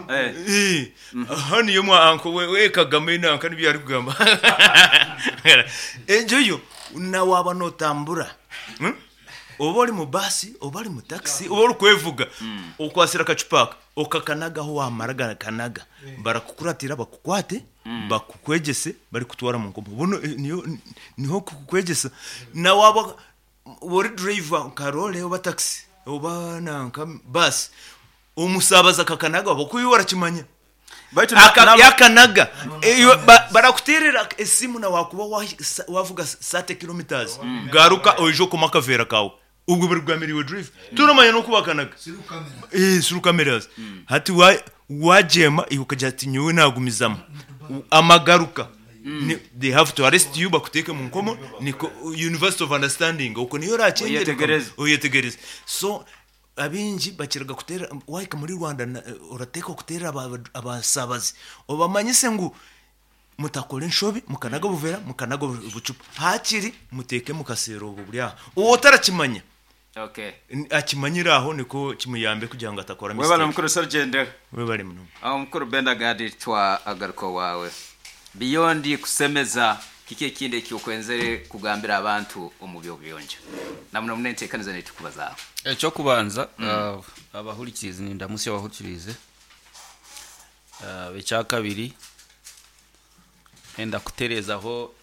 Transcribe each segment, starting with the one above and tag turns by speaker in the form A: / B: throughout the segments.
A: Eh. Aha niyo mwa uncle we, we Kagame nanka nibyo arikugamba. Egyo yo na waaba nootambura hmm, oba ori mu baasi oba ori mu takisi oba orikwevuga okwatsire akacupa aka okakanagaho waamara gakanaga barakukuratira bakukwate bakukwegyese barikutwara mu nkomo. Bunu niyo niho kukwegyesa na waaba ori driver nka roore oba takisi oba nanka baasi Omusaabazi akakanaga ahabw'okuba iwe orakimanya.
B: Baitu na-
A: Aka-
B: naba-
A: Yakanaga iwe barakuteerera esimu na wakuba wavuga 30 kilometres garuka oije okome akaveera kaawe. Obwo buri kugambira iwe driver. Toramanya n'oku bakanaga. Eh, through cameras. Hati wa- wagyema iwe okagira ati nyowe nagumizamu. Amagaruka. Ni- They have to arrest you bakuteeke omu nkomo niko University of Understanding okwo niyo orakyendere.
B: Oyetegereze.
A: Oyetegereze. So Abaingi bakiraga kuteera, waahika muri Rwanda orateekwa kuteera abasaabazi obamanyise ngu mutakora enshobi mukanaga obuveera, mukanaga obucupa, haakiri muteeke omu kaseera obwo buri aho. Ou otarakimanya akimanyire aho nikwo kimuyambe kugira ngu atakora
B: Webale
A: mistake.
B: mukuru Serugendo.
A: Webale munonga.
B: Omukuru Benda Gadi twagaruka owaawe. Beyond kusemeza, kiki ekindi eki okwenzere kugambira abantu omu by'obuyonjo? Na muno muno enteekaniza n'ei turikubazaaho.
C: Eky'okubanza abahurikiize nindamutsya abahurikiize. Ekyakabiri ndenda kutereezaho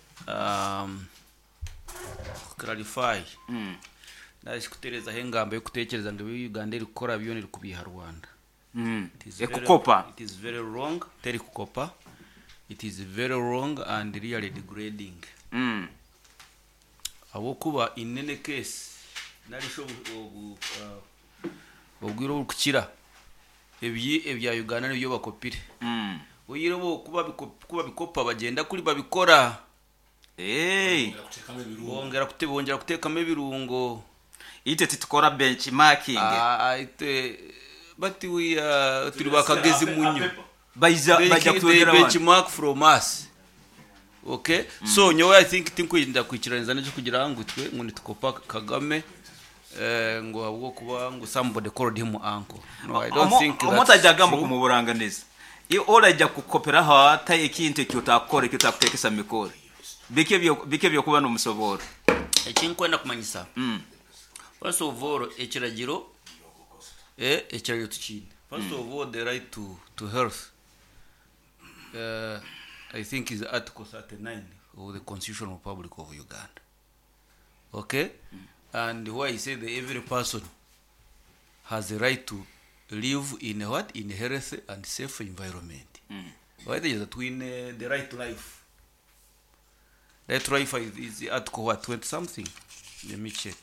C: clarify nari shi kutereezaho engamba y'okutekyereza ngu ebi Uganda erikukora byona erikubiiha Rwanda. It is very-
B: Ekukopa.
C: It is very wrong, terikukopa. It is very wrong and really degrading. Ahabw'okuba in any case nari shi obu obu obwire oburikukira ebi ebya Uganda nibyo bakopire. Oihireho bo ku ku babikopa bagyenda kuri babikora. Bongyera kute bongyera kuteekamu ebirungo.
B: Itwe titukora benchmarking.
C: Ah, itwe but we are turi bakagezi munyo.
B: Baija
C: They,
B: baija
C: they
B: kutwegera abandi.
C: benchmark from us. Okay? So nyowe I think tinkwenda kwikiraniza n'ekyokugira ngu itwe ngu nitukopa Kagame eh, ngu ahabw'okuba ngu somebody called him uncle. No, I don't think
B: Omuntu
C: that's
B: aija agamba
C: true.
B: okumuburanganiza. Iwe oraija kukoperaho ata ekintu eki otakukora eki otakuteekesa mu mikoro? Biki ebi biki eby'okuba n'omusoboora?
C: Eki nkwenda kumanyisa, first of all ekiragiro eh, ekiragiro tukiine. First of all the right to, to health eh, I think is article 39 of the Constitution Republic of Uganda. Okay? And why I say that every person has a right to live in a what? In a healthy and safe environment. Waitegereza twine the right to life. Right to life is, is article what? 20 something? Let me check.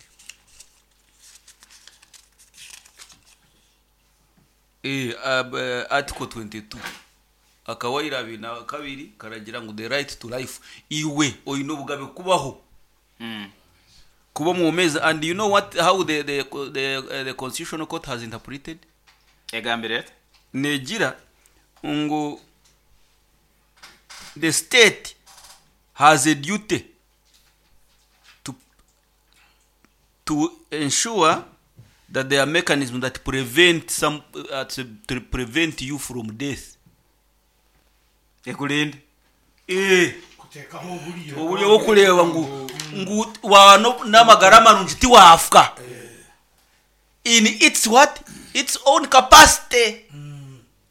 C: Eh, article 22 akawaira abiri na kabiri karagira ngu the right to life iwe oine obugabe kubaho kuba omwomeezi and you know what how the, the, the, the constitutional court has interpreted
B: Egambire eta?
C: Negira ngu the state has a duty to, to ensure that there are mechanisms that prevent some to, to prevent you from death.
B: Ekurinde.
C: Eh,
D: Kuteekaho oburyo.
C: oburyo bw'okureeba ngu ngu waaba no- n'amagara marungi tiwaafa in its what its own capacity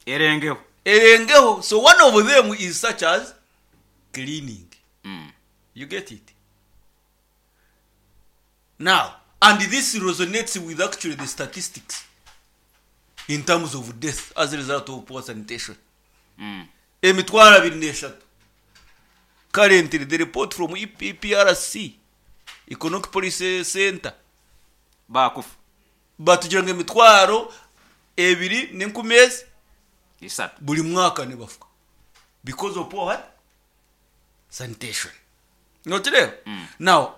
B: Erengeho.
C: erengeho so one of them is such as cleaning you get it now and this resonates with actually the statistics in terms of death as a result of poor sanitation emitwaro abiri n'eshatu currently the report from EPRC Economic Policy Center
B: Baakufa.
C: batugira ngu emitwaro ebiri n'enkumi ezi
B: Isatu.
C: buri mwaka nibafa because of poor what? Sanitation. Nokireeba? Now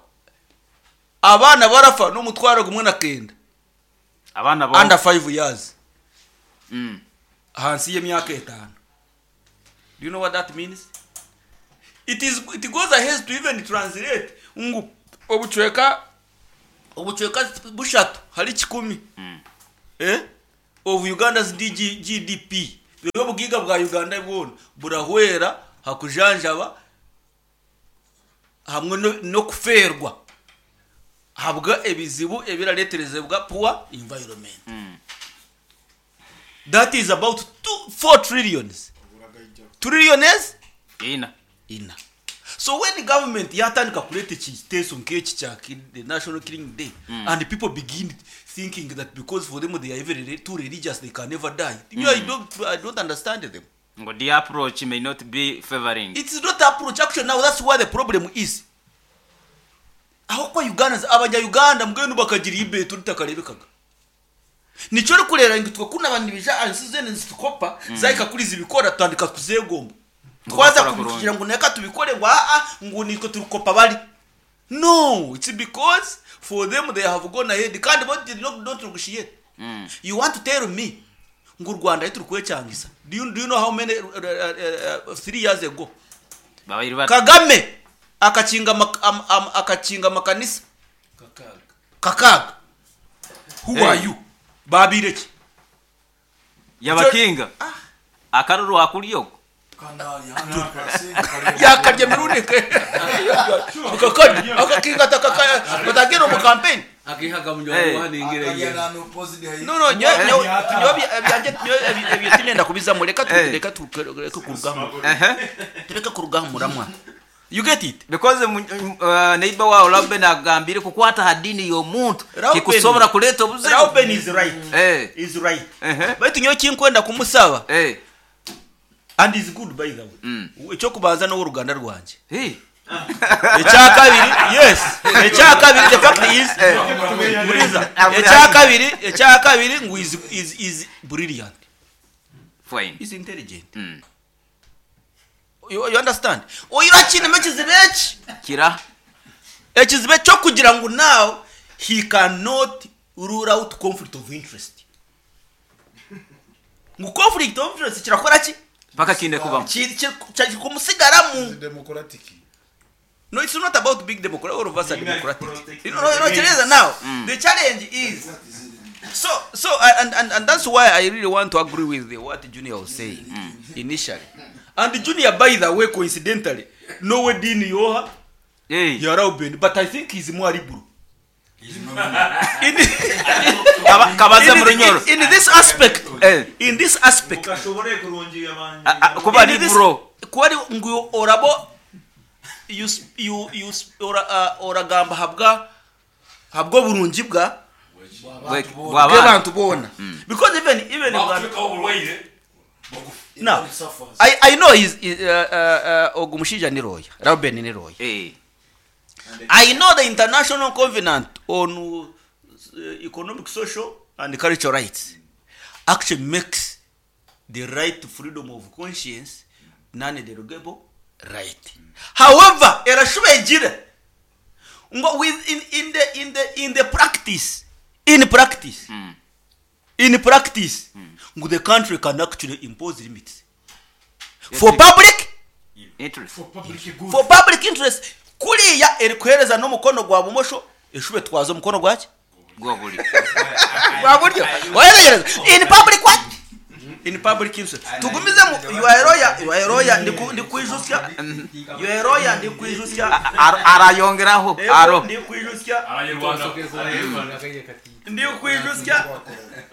C: abaana barafa n'omutwaro gumwe na kenda
B: Abaana bo.
C: under 5 years. Ahansi y'emyaka etaano. Do you know what that means? It is it goes ahead to even translate ngu obucweka obucweka bushatu hari kikumi eh, of Uganda's DG, GDP. Reero obugaiga bwa Uganda bwona burahwera ha kujanjaba hamwe n'okufeerwa ahabwa ebizibu ebirareeterezebwa poor environment. That is about two, 4 trillions. Trillions
B: Ina.
C: ina. So when government yatandika kureeta ekiteeso nk'eki kya the National Killing Day and people begin thinking that because for them they are even too religious they can never die. Me, I don't understand them.
B: Ngu the approach may not be favouring.
C: It's not approach actually now that's where the problem is. Ahabw'okuba Ugandans, abanya Uganda mbwenu bakagira eibeeto ritakareebekaga. Nikyo orikureeba ngu itwe ku naba nibaija aha nsi zoona nizitukopa, zahika kuri zibikora tutandika kuzegomba. Twaza
B: Bakora kurungi.
C: kugira ngu reka tubikore ngu aa ngu niitwe turikukopa bari. No, it's because for them they have gone ahead kandi bo they don't negotiate. You want to tell me ngu u Rwanda ahu turikwekyangisa, do you, do you know how many 3 years ago
B: Babaire bata?
C: Kagame akakinga ama, ama, akakinga amakanisa kakaaga. Who
B: Hey.
C: are you? Baabaire ki?
B: Yabakinga. Akaruru akuri oku.
C: Yakarya emirundi kakarya akakinga batagenda omu campaign.
B: Hey.
C: No, no, nyowe nyowe nyowe ebyangye nyowe ebyo tinenda kubizamu reka tu
B: Hey.
C: reka tureke kurugamu
B: Ehe.
C: tureke kurugamu muramwa. You get it?
B: Because neighbor wawe Reuben agambire kukwata ha dini y'omuntu
C: Reuben-
B: tikusobora kureeta obuzibu.
C: Reuben is right.
B: Eh.
C: Is right.
B: Ehe.
C: Baitu nyowe ekinkwenda kumusaba
B: Eh.
C: and is good by the way. Ekyokubanza n'ow'oruganda rwangye.
B: Hey.
C: Ekyakabiri, yes. Ekyakabiri the fact is Muriza. Ekyakabiri, ekyakabiri ngu is is is brilliant.
B: Fine.
C: Is intelligent. You, you understand? Oira kinema ekizibu eki.
B: Kira.
C: Ekizibu ekyokugira ngu now he cannot rule out conflict of interest. Ngu conflict of interest kirakora ki?
B: Paka kinde kubamu.
C: Kikumusigaramu.
D: Democratic.
C: No, it's not about being democratic. All of us are democratic. You know, no, Teresa, now, the challenge is, so, so, and, and, and that's why I really want to agree with what Junior was saying initially. And Junior, by the way, coincidentally, no way Dean Yoha,
B: Hey.
C: Yarauben, but I think he's more liberal. In,
B: Kabaza
C: in,
B: murunyoro.
C: in, in this aspect,
B: Eh.
C: in this aspect,
B: Kuba
C: in this-
B: liberal.
C: kuba ari ngu orabo you, you, you, ora, oragamba habwa habwa oburungi bwa bw'abantu boona because even even now I know he's, ogu mushaija ni lawyer Reuben ni lawyer
B: Eh.
C: I know the International Covenant on Economic, Social and Cultural Rights actually makes the right to freedom of conscience non-derogable right. However, erashuba egira ngo with in, in the in the in the practice in practice in practice ngo the country can actually impose limits for public
B: Interest.
D: For public good.
C: for public interest kuriya erikuhereza n'omukono gwa bumosho eshube twaza omukono gwaki
B: Gwa buryo.
C: gwa buryo wayetegereza in public what in public interest tugumizemu you are a lawyer you are a lawyer ndikwijusya you are a lawyer ndikwijusya
B: Arayongeraho aro.
C: ndikwijusya ndikwijusya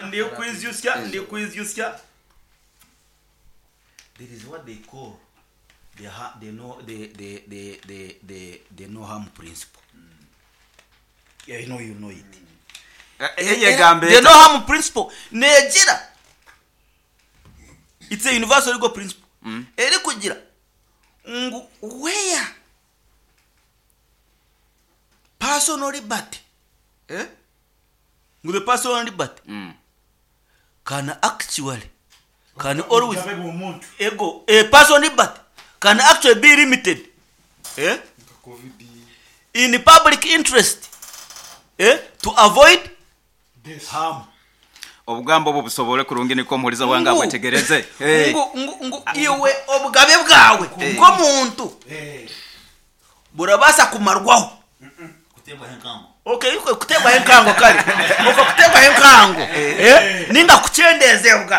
C: ndikwijusya ndikwijusya there is what they call the ha, the no the the the the the, the no harm principle. Yeah, you know you know it.
B: Eyegambe.
C: The no harm principle negira it's a universal legal principle erikugira ngu where personal liberty ngu the personal liberty can actually can always
A: Obugabe bw'omuntu.
C: ego a personal liberty can actually be limited
D: Covid.
C: in public interest to avoid
D: Death.
C: harm.
B: Obugambo obwo busobole kurungi niko omuhuriza wange
C: Ngu-
B: abwetegereze. Hey.
C: ngu, ngu, ngu iwe obugabe bwawe nk'omuntu
D: Eh.
C: burabaasa kumarwaho
A: Kuteebwaho enkango.
E: Okay, kuteebwaho enkango kare. Okwo kuteebwaho enkango eh, ninga kukyendezebwa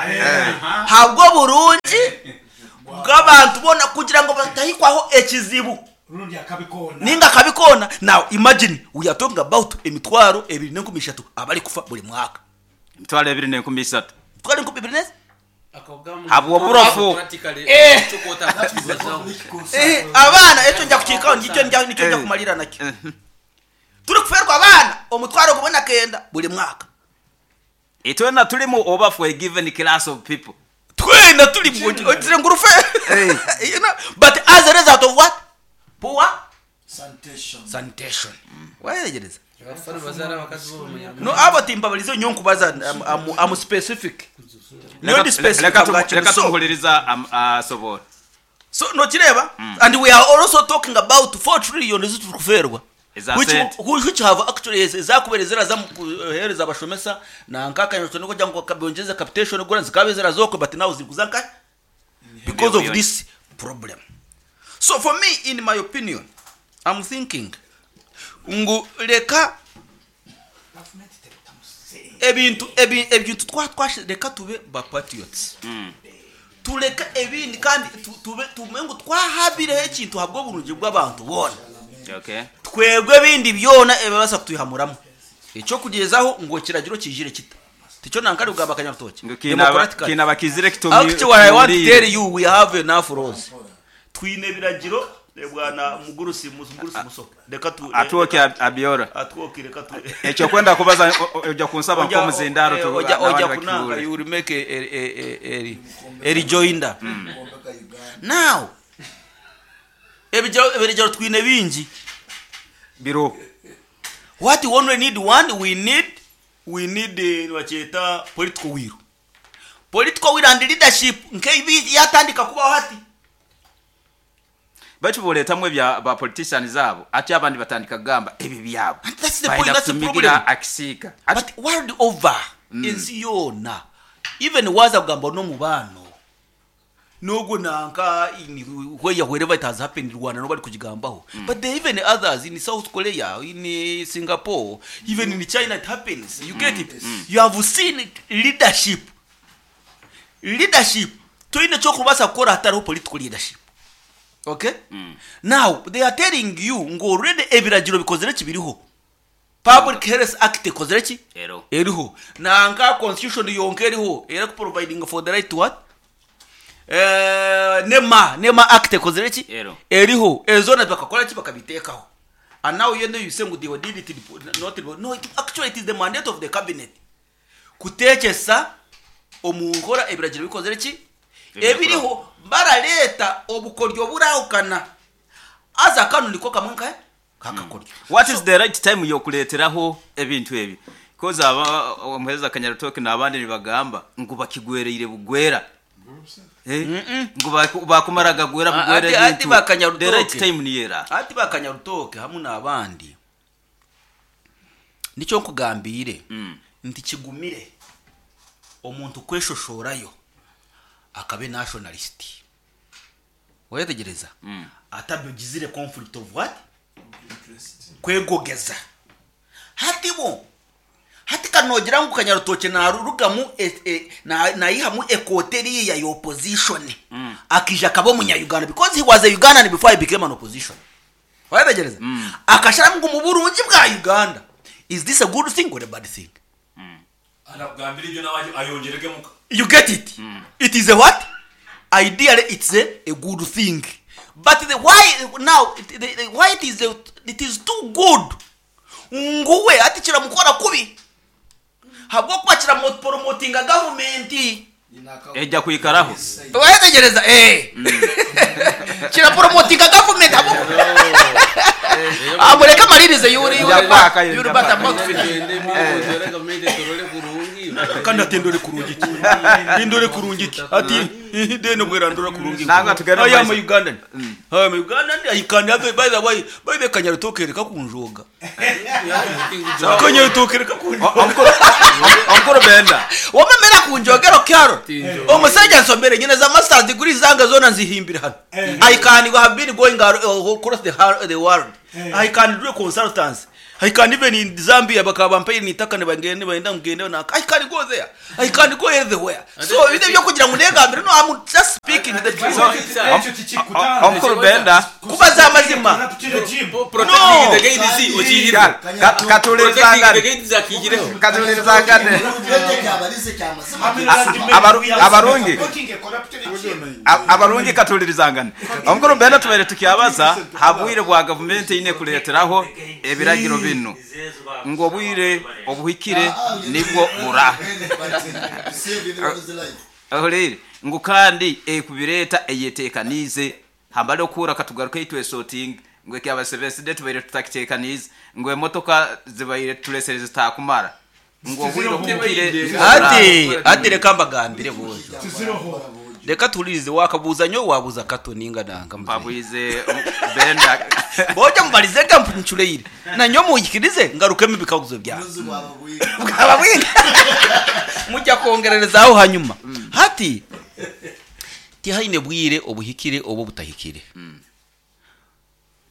E: habw'oburungi bw'abantu boona kugira ngu batahikwaho ekizibu
D: Rundi akabi koona.
E: ninga akabi koona. Now imagine we are talking about emitwaro ebiri n'enkumi ishatu abarikufa buri mwaka.
B: 2,300.
E: 2,300?
B: Habw'oburofu.
E: Eh, abaana ekyo nja kukiikaho nikyo nja nikyo nja kumalira nakyo. Turikufeerwa abaana omutwaro gumwe na kenda buri mwaka.
B: Itwena turimu oba for a given class of people?
E: Twena turimu ogire ngu rufe. You know, but as a result of what? Poor
D: Sanitation.
E: sanitation. Wayetegyereza? No abo timbabarize nyowe nkubaza I'm, I'm, I'm specific. Nyowe ndi specific
B: Leka
E: ahabwa kinu.
B: leka
E: So,
B: tumuhuririza asoboora.
E: so nokireeba? And we are also talking about 4 trillion ezi turikufeerwa.
B: Eza
E: Which,
B: sente.
E: which have actually ezakubaire ziraza mu kuheereza abashomesa nanka akanyonyi nikugira ngu bongyeze capitation grants zikaaba ziraza okwe but now zirikuza nkahi? Because of
B: Billion.
E: this problem. So for me, in my opinion, I'm thinking ngu reka ebintu ebi, ebintu twa twashi reka tube ba patriots. Tureke ebindi kandi tube tumenye ngu twahabireho ekintu ahabw'oburungi bw'abantu boona.
B: Okay.
E: Twebwe ebindi byona ebibaasa kutwihamuramu. Eky'okugyezaho ngu ekiragiro kijire kita. Tikyo nanka ari kugamba Kanyarutookye.
B: Ngu
E: Democratically.
B: kiina bakizire
E: Actually, I want to
B: kitumiire.
E: tell you we have enough laws. Twine ebiragiro bwana Mugurusi Mugurusi Musoke. Reka tu
B: Atwoke abyora.
E: Atwoke reka tu.
B: Ekyo kwenda kubaza oja kunsaba nk'omuzindaaro tu
E: Oja
B: n'abandi
E: oja kunanga
B: bakihure.
E: you will make a, a, a, a rejoinder. Now ebiragiro ebiragiro twine bingi.
B: Biro.
E: What we only need one, we need nibakyeta political will. Political will and leadership nk'ebi yatandika kubaho hati.
B: Baitu boleetamu ebya ba politicians abo ati abandi batandika kugamba ebi byabo.
E: And that's the
B: Baida
E: point, that's the
B: kutumigira
E: problem.
B: akisiika.
E: But world over, ensi yoona, even waza kugamba n'omubaano n'ogwo nanka in where wherever it has happened Rwanda nobody kugigambaho. But there are even others in South Korea, in Singapore, even in China it happens. You get it? You have seen leadership. Leadership. Toine ky'okubaasa kukora hatariho political leadership. Okay? Now, they are telling you ngu already ebiragiro bikozire ki biriho. Public Health Act ekozire ki?
B: Eriho.
E: Eriho. Nanka constitution yonka eriho. Era ku providing for the right to what? NEMA Act ekozire ki?
B: Eriho.
E: Eriho. Ezo bakakora ki bakabiteekaho. And now you know you say ngu they did it not no, it, actually it is the mandate of the cabinet. Kutekyesa omu nkora ebiragiro bikozire ki? Ebiriho barareeta obukoryo burahukana. Aza kanu niko kamwe nkahe? Kakakoryo.
B: What is the right time yokuleeteraho ebintu ebi? Because aba omuheereza Kanyarutoke n'abandi nibagamba ngu bakigwereire bugwera. Ngu bakumara gagwera bugwera
E: Ati
B: ebintu.
E: ba Kanyarutoke.
B: The right time niyera.
E: Ati ba Kanyarutoke hamwe n'abandi. Nikyo nkugambiire nti kigumire omuntu kweshoshorayo akabe nationalist. Wetegereza? Atabigizire conflict of what? Kwegogeza. Hati bo hati kanogira ngu Kanyarutoke narurugamu nayihamu ekote eriya ya opposition. Akija akaba omunya-Uganda because he was a Ugandan before he became an opposition. Wetegereza? Akasharamu ngu mu burungi bwa Uganda. Is this a good thing or a bad thing?
A: Anakugambira ibyo nawe ayongerege muka.
E: You get it? It is a what? Ideally, it's a good thing. But the why now? The why it is a, it is too good. Nguwe ati kiramukora kubi. Habwo kuba kirapromotinga government.
B: Ejja kwikaraho.
E: Wetegereza eh. Kirapromotinga government habwo. Amureka amaririze yuri yuri.
B: Njya kwaka,
E: Yuri
B: njya
E: bata
B: kwaka.
E: mouth finish. Kandi ati ndore kurungi ki? Ndore kurungi ki? Ati deno bwera ndora kurungi.
B: Nanga tugende
E: I am
B: mu maiso.
E: Ugandan. I am Ugandan. I can have by the way, by the Kanyarutoke reka kunjoga. Kanyarutoke reka kunjoga.
B: Onkuru Benda.
E: Wamemera kunjogero kyaro. Omusajja nsomere nyine za masters degree zanga zona nzihimbira hano. I can have been going across the world. I can do consultants. I can even in Zambia bakaba bampaire n'eitaka nibangenda nibenda ngu ngende nanka I can go there I can go everywhere so ebintu eby'okugira ngu negambire no I'm just speaking the truth.
D: Ekyo tikikutandika.
B: Omukuru Benda.
E: Kubaza amazima.
F: Protecting the gains okiihireho.
B: Ka- Katuhulirizangane.
F: Protecting the gains akiihireho.
B: Katuhulirizangane. Abarungi. Abarungi katuhulirizangane. Omukuru Benda tubaire tukyabaza ha bwire bwa gavumenti eine kureeteraho ebiragiro binu ngu obwire obuhikire nibwo bura. Ohuriire ngu kandi ekubireeta eyeteekaniize hambare okuhurra katugaruke twesotinge ngu ekyaba Seventh Day tubaire tutakiteekaniize ngu emotoka zibaire turesere zitakumara ngu obwire obuhikire nibwo bura.
E: Hati hati reka mbagambire boojo. Reka tuhuririze wakabuuza nyowe waabuuza Kato ninga nanka muzeeyi.
B: Mpabwize Benda.
E: Boojo mubarize ga ncureire. Na nyowe muhikirize ngarukemu ebikaguzo byange. Bwaba bwingi. Mujja kwongererezaho hanyuma. Hati tihaine bwire obuhikire oba obutahikire.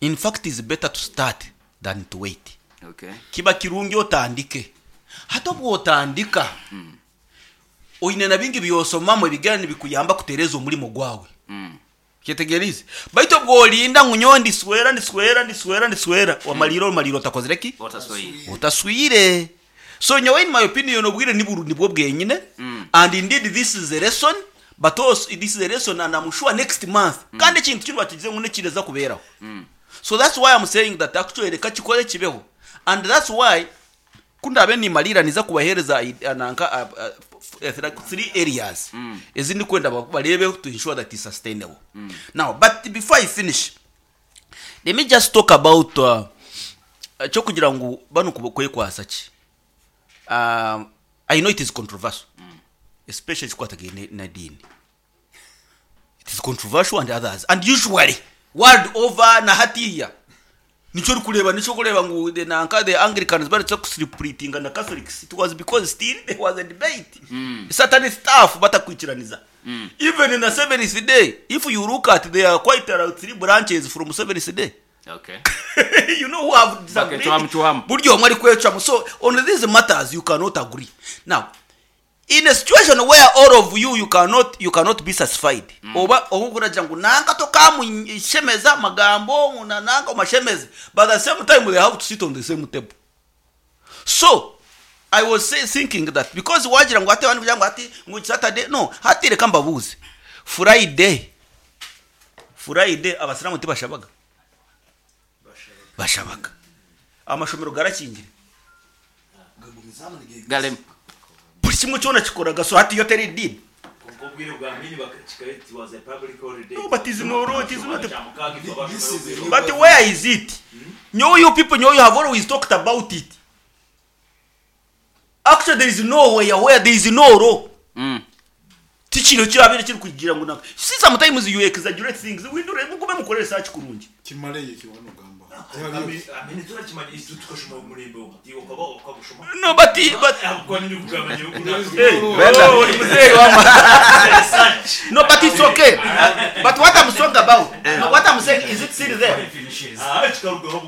E: In fact is better to start than to wait.
B: Okay.
E: Kiba kirungi otandike. Hati obu otandika oine na bingi by'osomamu ebigenda nibikuyamba kutereeza omurimo gwawe. Kyetegerize. Baitu obu orinda ngu nyowe ndiswera ndiswera ndiswera ndiswera wamalira omalira otakozire ki?
B: Otaswire.
E: Otaswire. So nyowe in my opinion obwire niburu nibwo bwenyine and indeed this is a lesson but also this is a lesson and I'm sure next month kandi ekintu kinu bakigize ngu nekireza kubeeraho. So that's why I'm saying that actually reka kikore kibeho and that's why ku ndaabe nimariira niza kubaheereza nanka 3 areas ezi ndikwenda bareebe to ensure that is sustainable. Now but before I finish let me just talk about ekyokugira ngu banu kwekwasa ki. I know it is controversial especially ekikwatagaine n'ediini. It is controversial and others and usually world over na hatiiya nikyo orikureeba nikyo orikureeba ngu the nanka the Anglicans baretse kusplittinga na Catholics it was because still there was a debate certain stuff batakwikiraniza even in the seventh day if you look at there are quite around 3 branches from seventh day.
B: Okay.
E: You know who have disagreed.
B: Bakecwamu cwamu.
E: Buri omwe arikwecwamu. So on these matters you cannot agree. Now in a situation where all of you you cannot you cannot be satisfied oba okuragira ngu nanka tokamushemeza amagambo ngu nanka omashemeze but at the same time they have to sit on the same table. So I was thinking that because wagira ngu ate abandi kugira ngu ati ngu Saturday no hati reka mbabuze Friday Friday abasiramu tibashabaga bashabaga amashomero garakingire
B: Galemu.
E: Buri kimwe kyona kikoraga so hati yo teri edini.
A: Kwonka obwire bwa Amini bakakika it was a public holiday.
E: No, but is no it is not a
A: Kyamukaaga itwe abashomero obwire
E: But where is it? Nyowe you people, nyowe you have always talked about it. Actually there is nowhere where there is no law. Tikino kyabire kiri kugira ngu naka. See sometimes you exaggerate things. We do mugume mukore research kurungi.
D: Kimareye kiwano gamba.
A: Amini turakimanya itu tukashoma omulembe ogu. Iwe okaba okagushoma.
E: No but but
A: Ahabw'okuba nyine kugamba nyewe
E: Hey,
B: Benda.
E: oh, ori muzeeyi wama. No, but it's okay. But what I'm talking about, no, what I'm saying is it still there?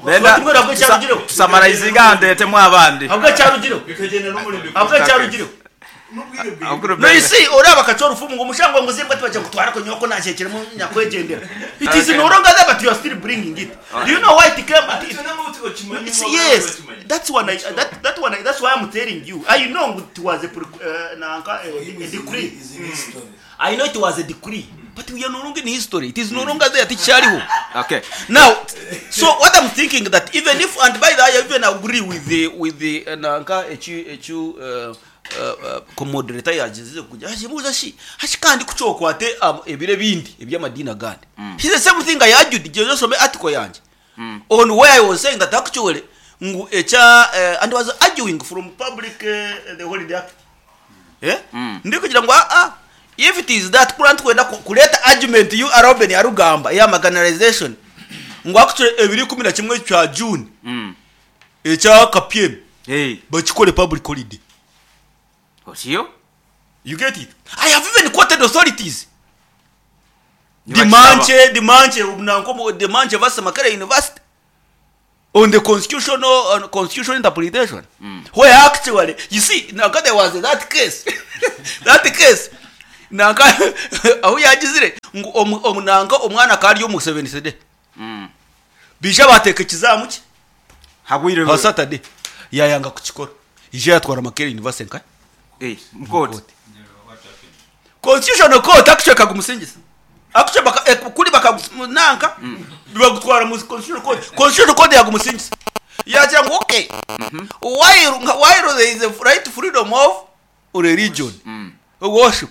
B: Benda.
E: Tumwe nabwo kyarugireho.
B: Tusamarayizinga ndetemu abandi.
E: Habwo kyarugireho.
A: Bikagenda n'omulembe.
E: Habwo kyarugireho.
B: Omukuru
E: No, you
B: Benda.
E: see, oraba akacwa orufumu ngu omushango ngu zimbwa tibajya kutwara ko nyoko nakyekiremu nyakwegyendera. It is no longer there, but you are still bringing it. Do you know why it came? It's, yes, that's one. I, that that one. I, that's why I'm telling you. I know it was a nanka, a decree. I know it was a decree, but we are no longer in history. It is no longer there. Tikyariho.
B: Okay.
E: Now, so what I'm thinking that even if and by the way, I even agree with the with the nanka echu echu commoderator yagize kugira ashibuza shi hashi kandi kucokwate ebire bindi ebyamadini agandi. He's the same thing I argued je some article yanje. On where I was saying that actually ngu echa and was arguing from public the holiday act. Ndi kugira ngo if it is that kura twenda kuleta argument you Robin yarugamba ya marginalization ngu actually ebiri 11 kya June ekya KPM
B: Hey.
E: bakikore public holiday.
B: Osiyo?
E: You get it? I have even quoted authorities.
B: Nibakisaba.
E: Dimanche, Dimanche, Dimanche vasa Makerere University. On the constitutional on constitutional interpretation where actually you see nanka there was that case that case nanka ahu yagizire ngu omu, omu nanka omwana akaba ari omu seventh day baija bateeka ekizaamu kye
B: Habwire
E: ha Saturday yayanga kukikora ija yatwara Makerere University nka
B: Eh, mu court.
E: Constitutional court actually ekagumusingisa. Actually baka, eh, kuri bakagunanka bagutwara mu constitutional court. Constitutional court yagumusingisa. Yagira ngu okay. While while there is a right to freedom of religion. Worship.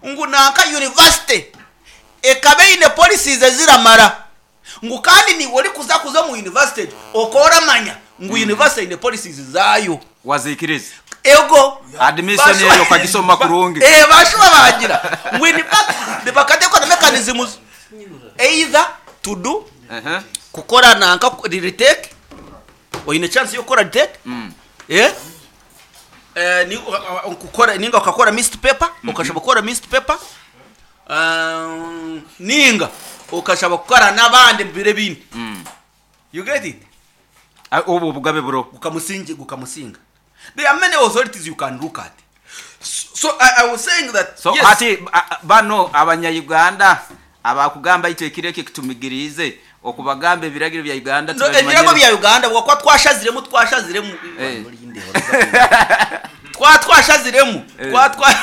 E: Ngu nanka university ekaba eine policies eziramara. Ngu kandi niiwe orikuza kuza omu university egyo okaba oramanya ngu university eine policies zaayo.
B: Waziikiriza.
E: Ego.
B: Admission eyo okagisoma kurungi.
E: Eh, bashuba bagira ngu in fact bakateekwa na mechanisms either to do kukora nanka retake oine chance y'okukora retake eh eh, ni kukora ninga okakora missed paper okashaba kukora missed paper Ninga okashaba kukora n'abandi omu biro ebindi. You get it?
B: Ah, Obwo obugabe buriho.
E: Gukamusingi gukamusinga. There are many authorities you can look at. So I, I was saying that
B: So
E: yes.
B: hati bano abanya-Uganda abakugamba itwe ekiro eki tumigiriize okubagamba ebiragiro bya Uganda
E: No, ebiragiro
B: tibabimanyire.
E: bya Uganda bwakuba twashaziremu twashaziremu
B: Eh.
E: twa twashaziremu
B: Eh.
E: twa twa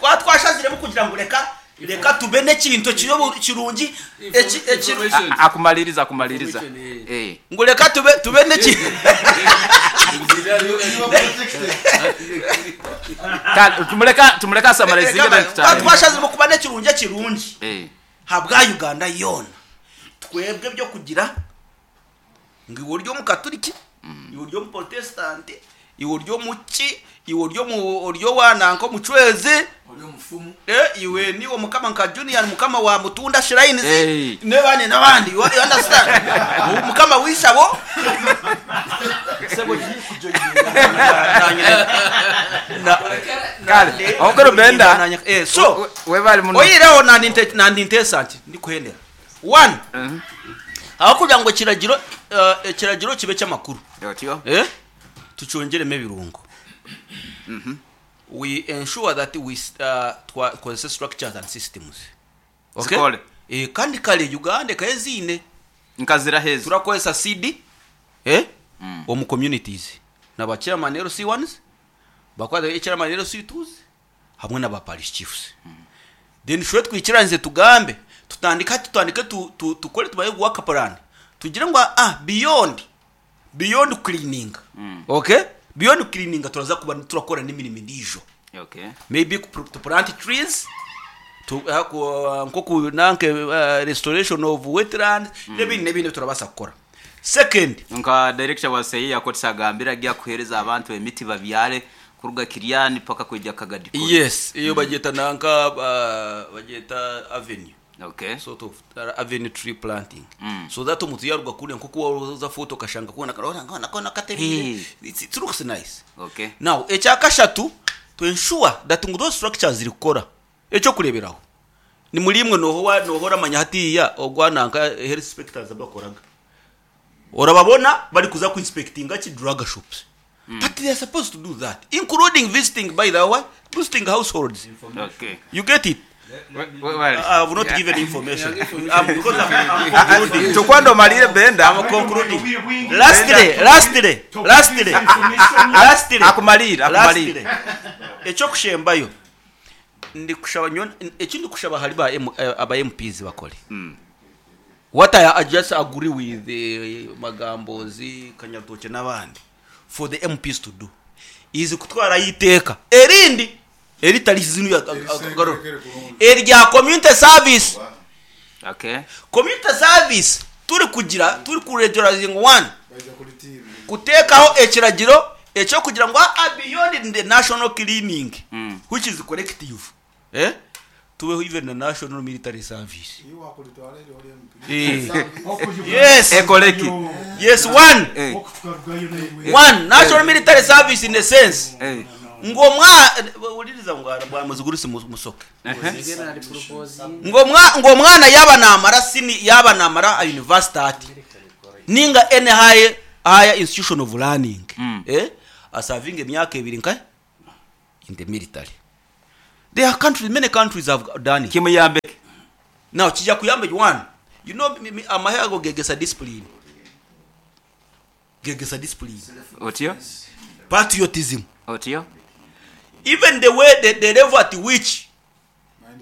E: twa twashaziremu kugira ngu reka reka tube n'ekintu ekiri obu- kirungi eki eki
F: Information.
B: Akumaliriza akumaliriza.
F: Information, eh.
B: Eh.
E: ngu reka tube tube n'eki
B: Kale tumuleka tumuleka asamarizinge then
E: twa
B: tutandike.
E: twashaziremu kuba n'ekirungi ekirungi
B: Eh.
E: habwa Uganda yoona twebwe ebyokugira ngu iwe ori omukaturiki iwe ori omuprotesitanti iwe ori omuki iwe ori omu ori owa nanka omucwezi
D: Ori omufumu.
E: eh, iwe niiwe mukama nka junior mukama wa mutunda shrines
B: Hey.
E: n'abandi n'abandi you you understand mukama w'ishabo sebo
B: Kale, okoro benda.
E: eh, so
B: Webale muno.
E: oyireho nandi nandi nteesa nti ndikuhendera one
B: Mhm.
E: ahakugira ngu ekiragiro eh, ekiragiro kibe ky'amakuru
B: Otyo.
E: eh tukyongyeremu ebirungo we ensure that we uh, twakozesa structures and systems okay
B: Zikole.
E: eh, kandi kare uganda ekaye ziine
B: Nkazira hezi.
E: turakozesa cd eh omu communities na ba chairman lc1s bakwata chairman lc2s hamwe na ba parish chiefs Then shwe twikiranize tugambe tutandike hati tutandike tu, tu, tukore tubaye work plan tugire ngu ah beyond beyond cleaning mm. okay beyond cleaning turaza kuba turakora n'emirimo endiijo
B: Okay.
E: maybe ku- to plant trees to uh, ku, uh, nkoku nanke uh, restoration of wetlands mm. n'ebindi n'ebindi turabasa kukora second
B: Nka director wa seyi yakotisa agambira agiye kuhereza abantu emiti babyare kuruga Kiriani paka kwija Kagadi.
E: yes iyo bagyeta nanka uh, bagyeta avenue
B: Okay.
E: sort of avenue tree planting mm. so that omuntu yaruga kure nkoku waroza foto okashanga kona karora ngona kona katerire
B: Hey.
E: it, it looks nice
B: Okay.
E: now ekyakashatu to ensure that ngu those structures ziri kukora ekyokureberaho ni muri imwe noho noho oramanya hatiya ogwa nanka health inspectors abakoraga orababona bari kuza ku inspectinga ki drug shops mm. but they are supposed to do that including visiting by the way visiting households
B: Okay.
E: you get it
B: Well,
E: I have not given information. I'm, because I'm, I'm concluding.
B: Tukwando omalire Benda.
E: I'm concluding. Lastly, lastly, lastly, lastly,
B: Akumalire, akumalire.
E: lastly. Ekyokushembayo ndikushaba nyowe eki ndikushaba ahari ba M, eh, aba MPs bakore. What I, I just agree with eh, Magambozi, Kanyarutokye n'abandi for the MPs to do is kutwarayo iteeka erindi eritari zinu erya community service
B: Okay.
E: community service turi kugira turi kuregularizing one
D: Baija kuri TV.
E: kuteekaho ekiragiro ekyokugira ngu ah, beyond the national cleaning mm. which is collective eh? tubeho even the national military service
D: Iwe wakuritwara eri ori MP.
E: eh. yes
B: Ekoleki.
E: yes one
B: Eh.
E: one national military service in a sense
B: Eh.
E: ngo mwa uliriza ngo bwa muzigurusi musoke ngo mwa ngo mwana yaba namara sini yaba namara a university ati Ninga any high higher institution of learning eh asavinge emyaka ebiri nka in the military. There are countries many countries have done it.
B: Kimuyambe ki?
E: Now kija kuyamba one you know amahe ago gegesa discipline gegesa discipline.
B: Otyo?
E: Patriotism.
B: Otyo?
E: Even the way the, the level at which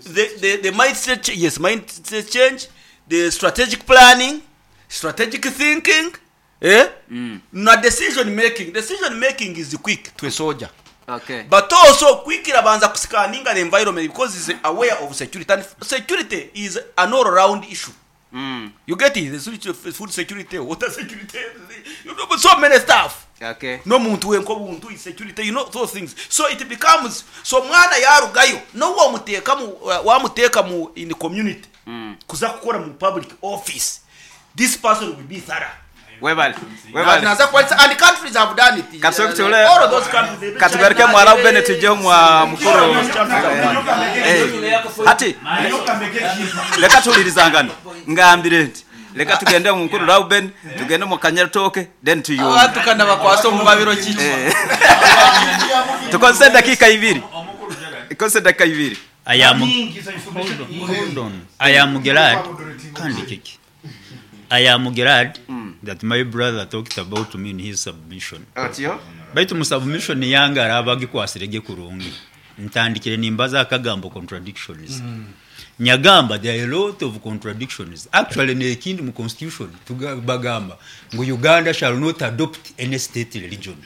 E: the, the, the mindset yes mindset change the strategic planning strategic thinking eh? mm. na decision making decision making is quick to a soldier
B: Okay.
E: but also quick irabanza kuscanninga the environment because is aware of security and security is an all round issue mm. you get it the security, food security water security you know, so many stuff
B: Okay.
E: n'omuntu wenka obuntu security you know those things so it becomes so omwana yarugayo n'obu wamuteeka mu wamuteeka mu in the community mm. kuza kukora mu public office this person will be thorough
B: Webale. Webale.
E: naza kwalisa and countries have done it
B: Katusoke
E: all of those countries
B: Katugaruke mwara Bennett tujye mwa mukuru. Eh. Hati leka tulirizangana ngambire nti leka tugende mu mukuru Reuben tugende mu Kanyaritoke then tuyumbe.
E: abantu kana bakwasa omu babiro kiki
B: Eh. Tukozese eddakiika ibiri. Tukozese eddakiika ibiri.
G: I am hold on, hold on. I am glad kandi kiki. I am glad that my brother talked about me in his submission.
B: Otyo?
G: Baitu mu submission yange araba agikwasirege kurungi. Ntandikire nimbaza akagambo contradictions. Nyagamba there are a lot of contradictions. Actually nekindi mu constitution bagamba ngu Uganda shall not adopt any state religion.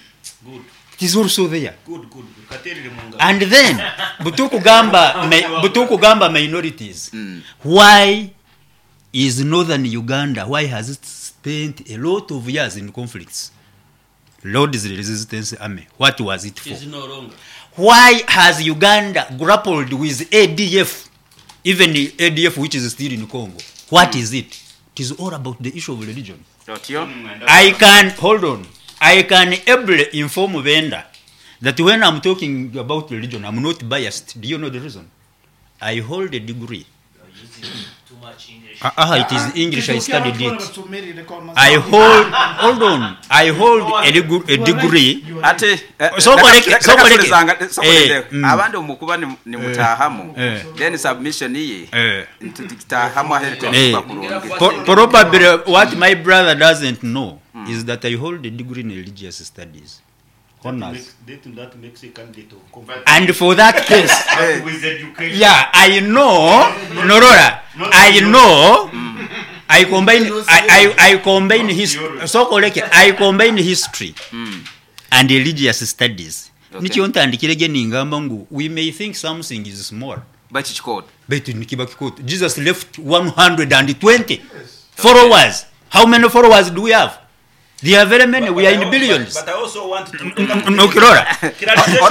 C: Good.
G: It is also there.
C: Good, good. Katerere mu ngaro.
G: And then butukugamba butukugamba minorities. Why is northern Uganda why has it spent a lot of years in conflicts? Lord's Resistance Army. What was it for?
C: Is no longer.
G: Why has Uganda grappled with ADF, even the ADF which is still in Congo? What is it? It is all about the issue of religion.
B: Otyo?
G: I can hold on. I can ably inform Venda that when I'm talking about religion, I'm not biased. Do you know the reason? I hold a degree.
A: Too much English.
G: It is English. I studied it. I hold hold on. I hold a, a degree.
B: Ate eh,
G: Soko
B: leka-
G: leke,
B: leka
G: soko leke.
B: tulizanga- soko
G: Eh,
B: leke. Abandi omukuba nimutahamu
G: Eh.
B: then submission ye
G: Eh.
B: ntitutahamu ahere
G: Eh.
B: temukuba kurungi.
G: Probably what my brother doesn't know is that I hold a degree in religious studies. Honors.
C: That, that makes a candidate of conflict.
G: And for that case,
A: With education.
G: yeah, I know, Norora, I know, I combine, I combine history, so koleke, I combine history and religious studies.
B: Okay.
G: Nikyo ntandikire ningamba ngu we may think something is small
B: Baki kikoto.
G: baitu nikiba kikoto. Jesus left 120 followers. How many followers do we have? There are very many. We are in billions.
E: But I also want to
G: Nokirora.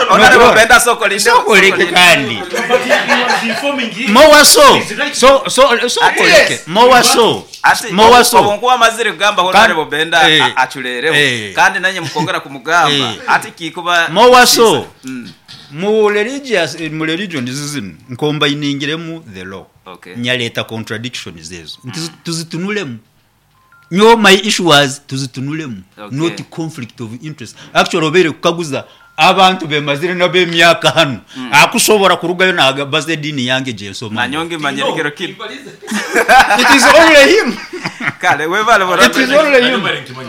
B: Honorable Benda soko linde.
G: Soko leke kandi.
A: But he was informing him.
G: More so. So so so
B: Yes.
G: leke. More so.
B: Ati
G: More so.
B: obunkuba amazire kugamba Honorable Benda
G: Eh.
B: acurereho
G: Eh.
B: kandi nanye mukongera kumugamba
G: Eh.
B: ati kikuba
G: More so. Mu religious mu religion zizino nkombayiningiremu the law.
B: Okay.
G: Nyaleta contradictions ezo. Nti tuzitunulemu. Nyo my issue was tuzitunulemu.
B: Okay.
G: Not conflict of interest. Actually obeire kukaguza abantu bemazire nab'emyaka hano akushobora kurugayo nagabaza edini yange gyensoma
B: nanyonge manyerekero kino
G: it is only him
B: kale webale
G: it is only him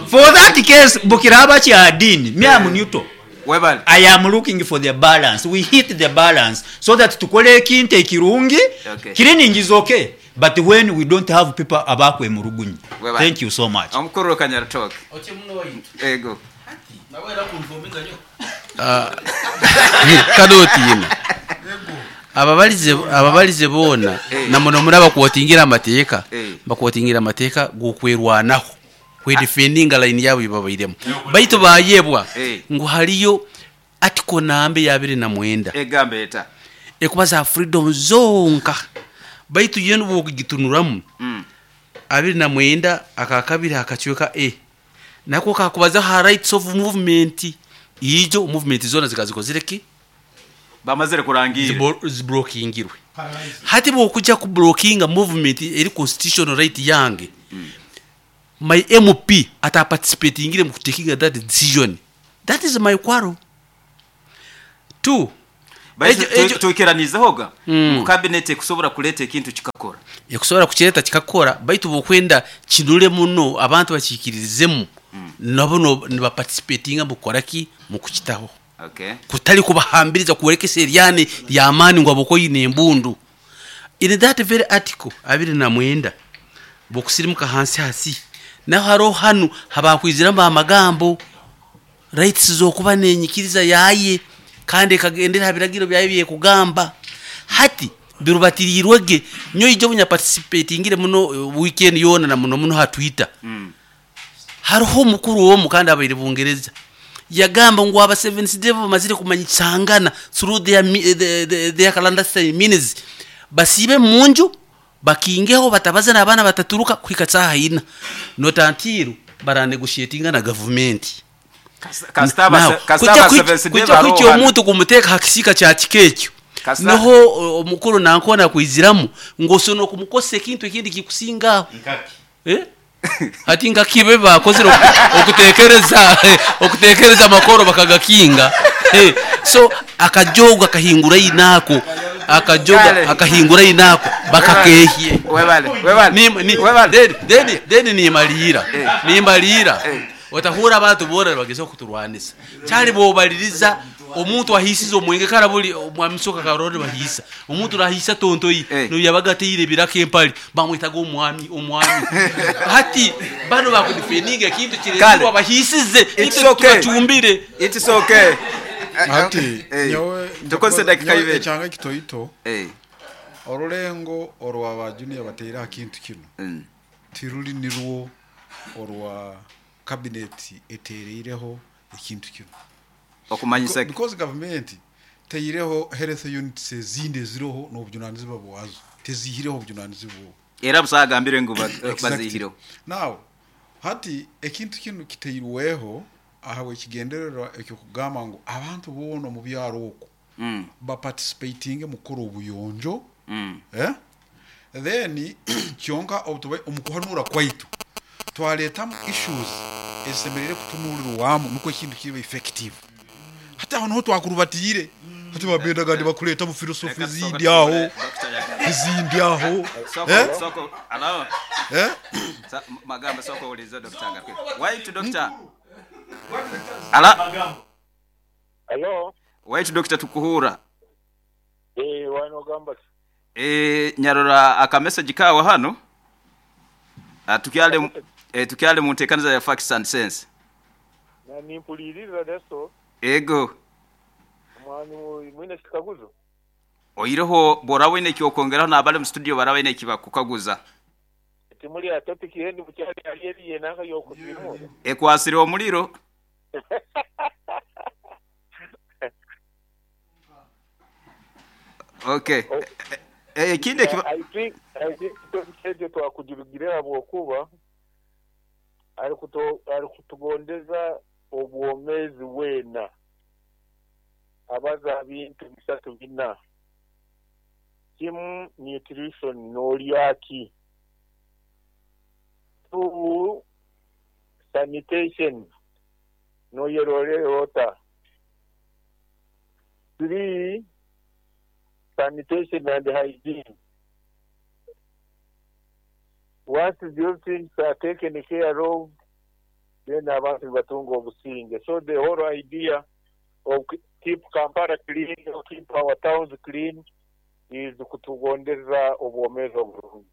G: for that case bukiraba kya dini me am neutral
B: webale
G: I am looking for the balance. We hit the balance so that tukole ekintu ekirungi.
B: Okay.
G: Cleaning is okay, but when we don't have people abakwe murugunyi.
B: Webale.
G: Thank you so much.
B: omukuru Kanyaritoke ego
F: kadotiina ababalize boona namuno muri abakuotingira amateeka
B: Eh.
F: bakuotingira amateeka gokwerwanaho kwedefendinga line yabo yebabairemu baitu bayebwa
B: Eh.
F: ngu hariyo article nambe ya 29
B: egamba eta
F: ekuba za freedom zonka baitu yenu bokugitunuramu 29 akakabiri akacweka a nako kakubaza ha rights of movement ijo movement zona zikazikozire ki
B: bamazire kurangira
F: zibrokingirwe hati bwokujja ku brokinga movement eri constitutional right yange. My MP ataparticipatingire mu kutakinga that decision? That is my quarrel. Two,
B: Baitu
F: Ekyo- ekyo-
B: twikiranizeho ga ngu cabinet ekusobora kuleeta ekintu kikakora.
F: Ekusobora kukireeta kikakora, baitu bwokwenda kinure muno abantu bakiikiririzemu, nabo nibaparticipatinga mu kukora ki? Mu kukitaho.
B: Okay.
F: Kutari kubahambiriza kuborekesa eryani ry'amaani ngu habwokuba oine embundu. In that very article 29, bwokusirimuka hansi hasi, naho haroho hanu habakwiziramu amagambo rights z'okuba n'enyikiriza yaye kandi ekagendera ha biragiro byayo byekugamba. Hati birubatiriirwe ge. Nyowe ijo obu nyaparticipatingire muno weekend yoona na muno muno ha Twitter, haroho omukuru omu kandi abaire Bungereza yagamba ngu aba Seventh Day bamazire kumanyisangana through their clandestine means, basiibe munju bakingeho batabaze n'abaana bataturuka kuhika saaha ina, not until baranegotiatinga na gavumenti.
B: Kasita aba
F: Now,
B: kasita
F: kujja
B: aba Seventh Day
F: kujja
B: baroho
F: kuhikya
B: hanu.
F: omuntu kumuteeka ha kisiika kya kika ekyo,
B: Kasita
F: niho omukuru nankona kwiziramu ngu osobola kumukozesa ekintu ekindi kikusinga aho. Eh? Hati nka kibe bakozire okutekereza amakoro bakagakinga. So akajogo akahingura inako, akajogo
B: Kale.
F: akahingura inako bakakehye.
B: Webale, webale. Webale.
F: Then nimalira. Nimalira. Otahura abantu bora bageza kuturwanisa. Kyali bobaliriza omuntu ahisize omwenge karabuli omwami soka karori bahisa. Omuntu rahisa tontoyi no yabagatire biraka empali bamwitaga omwami omwami. Hati bano bakudefendinga ekintu
B: Kale.
F: kireetwa bahisize
B: It's
F: itwe
B: okay.
F: tubacumbire.
B: It's okay.
D: Hati nyowe
B: Tukozese dakika
D: nyowe
B: ibiri.
D: ekyanga ekitoito orulengo orwa ba junior bateire aha kintu kinu tiruri nirwo orwa cabinet etereireho ekintu kinu.
B: Okumanyisa
D: Because government teireho health units ezindi eziroho n'obujunanizibwa bwazo, tezihireho obujunanizibwa obwo.
B: Era busagambire ngu
D: Exactly.
B: bazihireho.
D: Now hati ekintu kinu kiteirweho ahawe ekigendererwa ekyokugamba ngu abantu boona omu byaro okwo baparticipatinge mu kukora obuyonjo. Then kyonka obutuba omu kuhanura kwaitu twaretamu issues ezisemereire kutunurirwamu nukwo ekintu kibe effective. Hati aho niho twakurubatiire, hati babendaga nibakureeta mu philosophy ezindi aho, ezindi aho.
B: Soko, allow. Magamba soko ulizo Dr. Ngapwe. Why to doctor? Ala.
H: Hello.
B: Why to doctor tukuhura?
H: Wano gamba.
B: Nyarora aka message kawe hano. Tukyale mu nteekaniza ya Facts and Sense.
H: Na nimpuliriza leso.
B: Ego.
H: Mwani mwine kikaguzo.
B: Oireho bora wine kyokongeraho n'abali mu studio bara wine kibakukaguza.
H: Timuli ya topic yendi bukyali ali yenanga yokusimura.
B: Ekwasire omuliro. Okay. Ekindi
H: I think topic ekyo twakugirugirira bwokuba ari kutugondeza obwomezi wena. Abaza bintu bisatu bina. Kimu nutrition n'olyaki. 2 sanitation n'oyerore ota. 3 sanitation and hygiene. Once those things are taken care of, then abantu batunga obusinge. So the whole idea of keep Kampala clean, keep our towns clean, is kutugondeza obwomezi obulungi.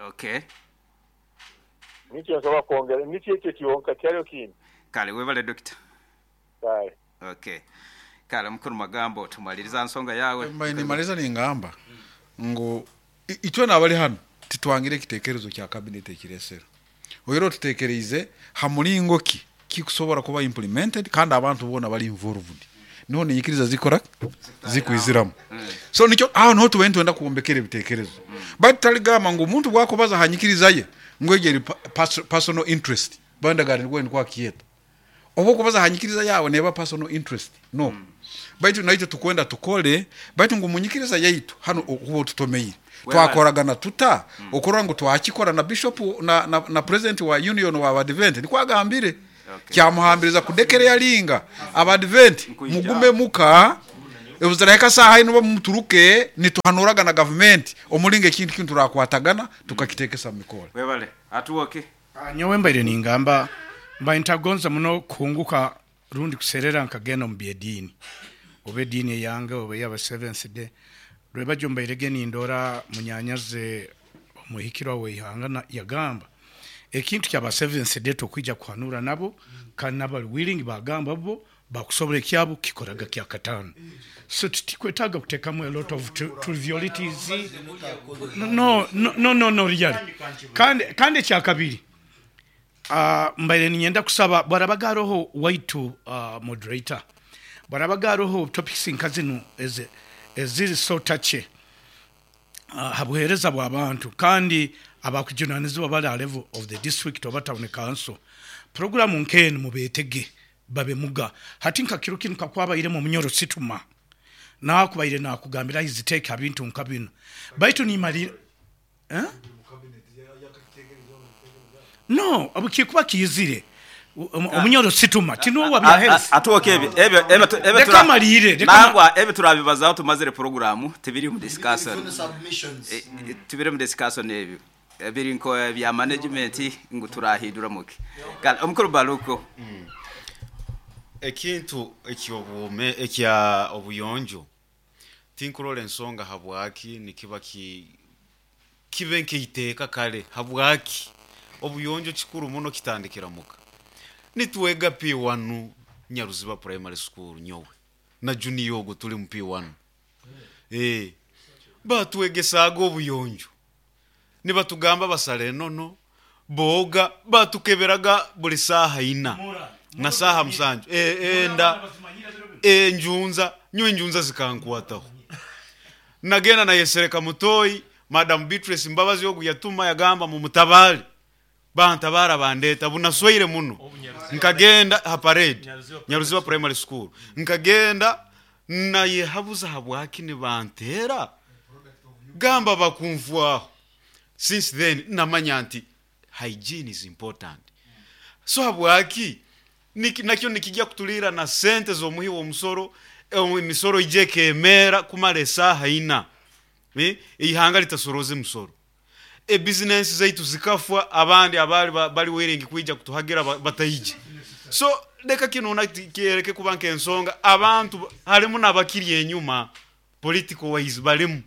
B: Okay.
H: Nikyo nsobola kwongera, nikyo ekyo kyonka kyaliyo kindi.
B: Kale webale doctor.
H: Kale.
B: Okay. Kale mukuru magambo tumaliriza nsonga yawe.
D: Nimaliza ningamba ngu itwe nabali hano titwangire ekitekerezo kya cabinet ekiresera. Oyero tutekereize ha mulingo ki kikusobora kuba implemented kandi abantu bona bali involved. Niho ninyikiriza zikora zikwiziramu. So nikyo aho niho tuba nitwenda kuwombekera ebitekerezo. But taligamba ngu omuntu bwakubaza hanyikiriza ye ngu egyo eri personal interest. Bandagara nigwe nikwa kiyeta. Oba okubaza hanyikiriza yawe neba personal interest. No. Baitu naitwe tukwenda tukole, baitu ngu munyikiriza yaitu hanu okuba otutomeire. Twakoragana tuta okurora ngu twakikora na Bishop na, na, na President wa Union wa Abadiventi nikwo agambire. Kyamuhambiriza kudekereyaringa Abadiventi mugume muka obuzirahika saaha inu oba muturuke nituhanuraga na gavumenti omuringo ekintu kinu turakwatagana tukakitekesa mu mikora.
B: Webale. Atuwoki.
I: Nyowe mbaire ningamba, mbaire ntagonza muno kuhunguka rundi kuserera nkagenda omu by'ediini, oba ediini eyange oba ey'aba Seventh Day. Rwebagyo mbairege nindora munyanyazi omuhikirwa w'eihanga yagamba, ekintu ky'aba Seventh Day tokwija kuhanura nabo kandi n'abali willing bagamba bo bakusobora ekyabo kukikoraga kyakataano. So titikwetaaga kutekamu a lot of trivialities. No, no, no, no, really. Kandi, kandi ekyakabiri, Mbaire niinyenda kusaba bwarabaga haroho waitu moderator, bwarabaga haroho topics nka zinu eziri so touchy ha buheereza bw'abantu kandi abakujunanizibwa bari aha level of the district oba town council, puroguramu nk'enu mubeetege babe muga. Hati nka kiro kinu kakwabairemu omunyoro situma nakubaire nakugambira his take ha bintu nka binu baitu nimalira. No, obu kirikuba kiizire, omunyoro situma, ti nuwe owa bya health.
B: Atuoke ebyo ebyo ebyo ebyo
I: Leka amaliire, leka
B: nangwa ebyo turabibazaho tumazire puroguramu tibiri omu discussion. Tibiri omu discussion ebyo. Biri nko ebya management ngu turahinduramu ki. Kale omukuru Baluku.
J: Ekintu eky'obwome ekya obuyonjo Tinkurora ensonga habwaki nikiba ki kibe nk'eiteeka kare habwaki obuyonjo kikuru muno kitandikira muka. Nitwega P1 Nyaruziba Primary School nyowe na junior ogwo turi mu P1 eeh batwegesaaga obuyonjo nibatugamba basara enono, booga, batukeberaga buri saaha ina na saaha musanju enda, enjunza, nyowe enjunza zikankwataho. Nagenda nayesereka mutoyi, Madam Beatrice Mbabazi ogu yatuma yagamba mumutabaare, bantabaara bandeeta, bunaswaire muno, nkagenda ha parade, Nyaruziba Primary School, nkagenda nayehabuza habwaki nibanteera, gamba bakunfwaho. Since then namanya nti hygiene is important. So habwaki nakyo nikigya kuturiira na sente z'omuhi w'omusoro, emisoro ija ekemeera kumara esaaha ina, eihanga ritasorooza emisoro. Ebizinensi zaitu zikafwa, abandi abaali bari willing kwija kutuhagira bataije. So leka kinu kyereke kuba nk'ensonga abantu harimu n'abakiri enyuma political wise barimu.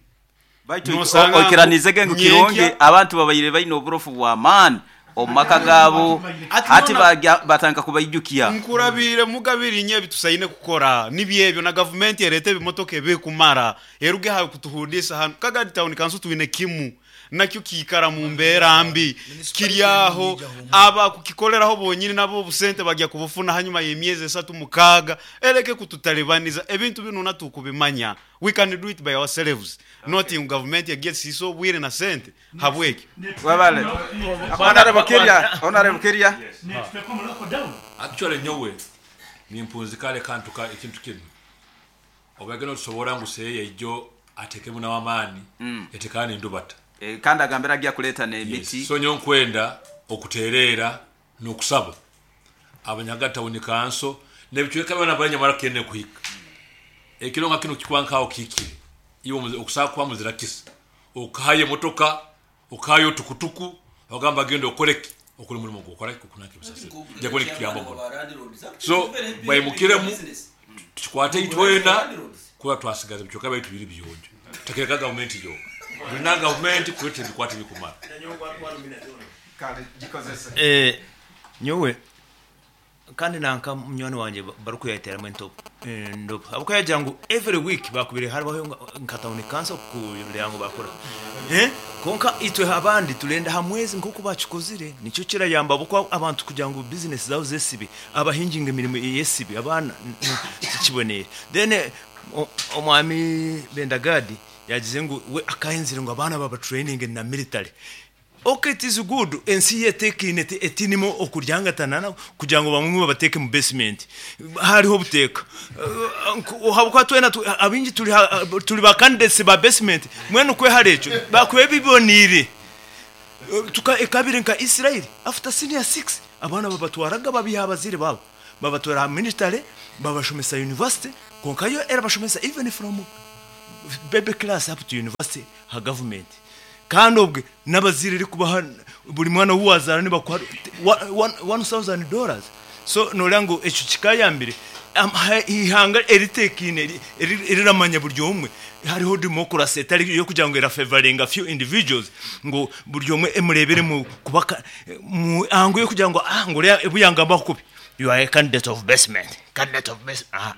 B: Baitu
J: Nosanga ngu
B: oikiraniizege ngu kirungi
J: nyenkya.
B: abantu babaire baine oburofu bw'amaani omu maka gaabo,
J: Ati
B: hati
J: nona
B: bagya batandika kubaijukya.
J: Nkurabiire muga biri nyo ebitusaine kukora nibyo ebyo na gavumenti ereete ebimotoka ebirikumara eruge aha kutuhundiisa hanu. Kagadi Town Council twine kimu nakyo kiikara mu mbeera mbi kiri aho abakukikoreraho bonyini nabo obusente bagya kubufuna hanyuma y'emyezi esatu mukaaga ereke kututalibaniza ebintu binu natukubimanya we can do it by ourselves not ngu gavumenti egye esiise obwire na sente habwekyo.
B: Webale. Honourable Kirya, Honourable Kirya.
K: Actually nyowe nimpunzika reka ntuka ekintu kinu Obwege notusobora ngu seya ijo atekemu nawe amaani yatekana nendubata.
B: Kandi agambire agya kuleta nemiti.
K: Yes, so nyowe nkwenda okutereera nokusaba abanyaga tawuni kanso nebicweka byona abanyamara kende kuhika ekiro nka kinu kikuba nkaho kihikire iwe okusaaba kuba muzira kisa okahayo emotoka Okahayo tukutuku ogamba genda okore ki okore omurimo gwokora ki okunanka ebisasiro nija kuba nikituyamba muno so baimukiremu tukikwate itwena kuba twasigaza ebicweka byaitu biri biyonjo tutakireka gavumenti yoka tulina gavumenti kureeta ebikwate ebikumara.
A: Nyowe Kandi nanka munywani wangye barikuyeteramu endobo ahabw'okuba yagira ngu every week bakubaire haribaho nka town council kureba ngu bakora kwonka itwe abandi turenda aha mwezi nk'oku bakikozire nikyo kirayamba ahabw'okuba abantu kugira ngu bizinesi zaabo zesibe abahingi ngu emirimo eyesibe abaana tikiboneire. Then omwami Bendagadi yagize ngu we akahenzire ngu abaana baba traininge na military. Ok it is good ensi yo eteekaine etiinemu okuryangatana kugira ngu bamwe babateeke mu basement hariho obuteeka ahabw'okuba twena abaingi turi ba candidates ba basement mbwenu kwehara ekyo bakuba biboneire ekabaire nka Israel after senior six abaana babatwaraga babiiha aha bazaire baabo babatwara aha military babashomesa university kwonka yo erabashomesa even from baby class up to university aha government. Kandi obwe n'abazaire erikubaha buri mwana ou waazaara nibakuha $1000 so nooreeba ngu ekyo kikaayambire eihanga eriteekaine eriramanya buri omwe hariho democracy etari ey'okugira ngu erafevaringa few individuals ngu buri omwe emureebere mu kuba mu angle y'okugira ngu ah ngu oriya obu yangambaho kubi you are a candidate of basement, candidate of basement aa.